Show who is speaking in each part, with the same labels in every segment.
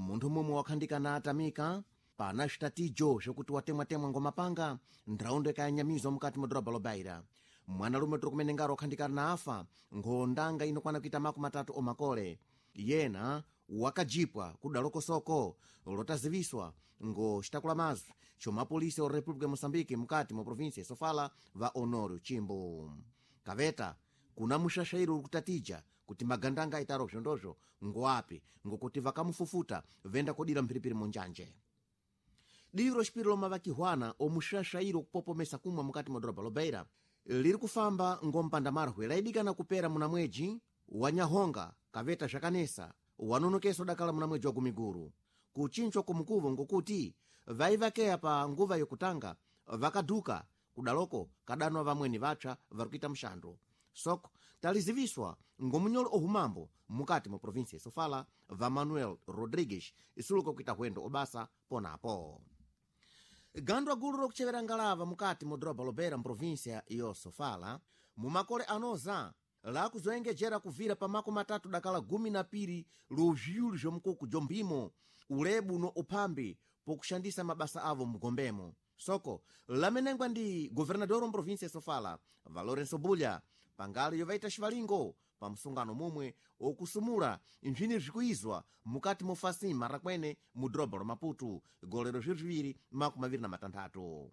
Speaker 1: Munthu mumwe wakhandikana atamika pana zvitatijo zvokuti watemwatemwa ngomapanga ndraundo ikayanyamizwa mukati mwa dhorobha lobaira. Mwanalume tiri kumenengaro wakhandikana na afa nkhondanga inokwana kuita 30 omakole. Yena wakajipwa kudalokosoko lotaziviswa ngo xitakula mazwi chomapolisi o República ya Moçambique mukati mwa província ya Sofala va Honório Chimbo. Kaveta kuna muxaxairo uri kutatija kuti magandanga aitaro zvondozvo ngoapi, ngokuti vakamufufuta venda kodira mphiripiri munjanje. Divi roxipiri lomavakihwana omuxaxairo kupopomesa kumwa mukati mwa dhorobha lobeira liri kufamba ngompandamarwe laidikana kupera muna mweji wa Nyahonga, kaveta zvakanesa wanonokesa udakala muna mweji wa Gumiguru. Kuchinchwa kumukuvo ngokuti vaivakeya pa nguva yokutanga vakadhuka kudaloko kadanwa vamweni vapsa vari kuita muxando. Soko taliziviswa ngomunyolo ohumambo mukati mwa província ya Sofala va Manuel Rodrigues isuluka kuita hwendo obasa ponapo. Gandwa gulu lokuchevera ngalava mukati mwa dhorobha lobeira mprovíncia yo Sofala mumakole anoza lakuzoengejera kuvira pa 30 dakala 12 luzviulu zvomukuku jomphimo ulebu no uphambi pokuxandisa mabasa avo mgombemo. Soko lamenengwa ndi governador wa província ya Sofala va Lourenço Bulha pangali yovaita xivalingo pa msungano mumwe okusumula nzvini zvikuizwa mukati mofasima rakwene mu dhorobha la Maputo golero 2026.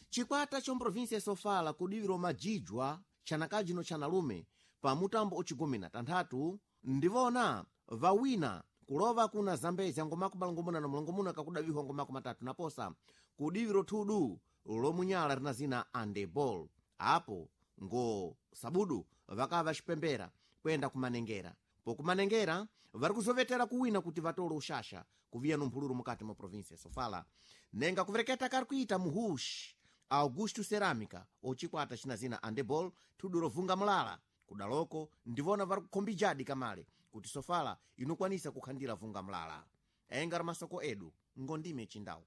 Speaker 1: Chikwata cha província ya Sofala kudiviro majijwa chanakaji no chanalume pa mutambo ocigumi na tanthatu ndivona vawina kulova kuna Zambezi ngomakumalongomuna na mlongomuna kakudavihwa ngomako matatu naposa kudiviro thudu lomunyala rina zina andebol. Apo ngo sabudu vakava xipembera kwenda kumanengera. Pokumanengera vari kuzovetera kuwina kuti vatole uxaxa kuviya nomphululu mukati mwa província ya Sofala. Nenga kuvereketa kari kuita muhuxi Augusto Cerâmica ocikwata cina zina andebol thudu lovunga mulala kudaloko ndivona vari kukhombijadi kamale kuti Sofala inokwanisa kukhandira vunga mulala. Enga ra masoko edu ngondime chindau.